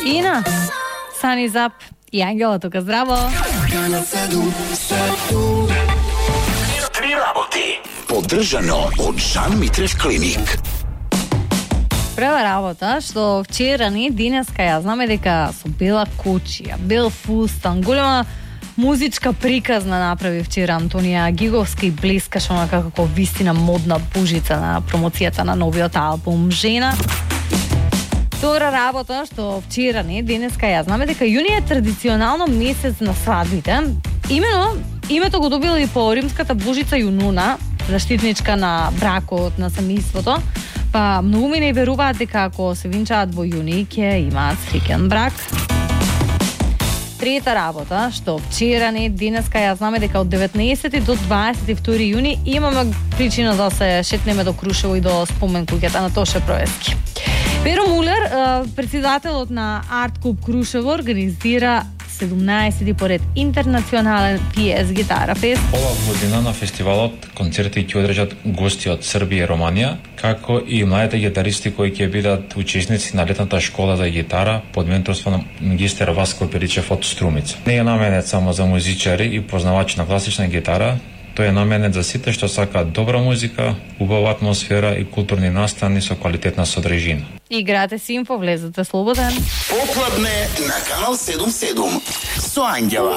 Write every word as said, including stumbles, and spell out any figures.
Ина, Сани Зап и Ангела тука, здраво! Три работи. Поддржано од Жан Митрев клиник. Прва работа, што вчера ни, денеска ја знаме дека со бела кучија, бел фустан, голема музичка приказна направи вчера Антонија Гиговска и блескаше онака како вистина модна бужица на промоцијата на новиот албум Жена. Втора работа, што вчера ни, денеска ја знаме дека јуни е традиционално месец на свадбите. Имено, името го добила и по римската божица Јунуна, заштитничка на бракот, на семејството. Па многу не веруваат дека ако се венчаат во јуни ќе имаат среќен брак. Трета работа, што вчера не, денеска ја знаме дека од деветнаесети до дваесет и втори јуни имаме причина да се шетнеме до Крушево и до спомен куќата на Тоше Проески. Перо Мулер, председателот на Арт Клуб Крушево, организира седумнаесети поред интернационален пи ес Гитара Фест. Ова година на фестивалот концерти ќе одржат гости од Србија и Романија, како и младите гитаристи кои ќе бидат учесници на летната школа за гитара под менторство на магистер Васко Перичев од Струмица. Не е наменет само за музичари и познавачи на класична гитара, тој е наменет за сите што сакаат добра музика, убава атмосфера и културни настани со квалитетна содржина. Играте си инфо, влезете слободен. Попладне на Канал седумдесет и седум со Ангела.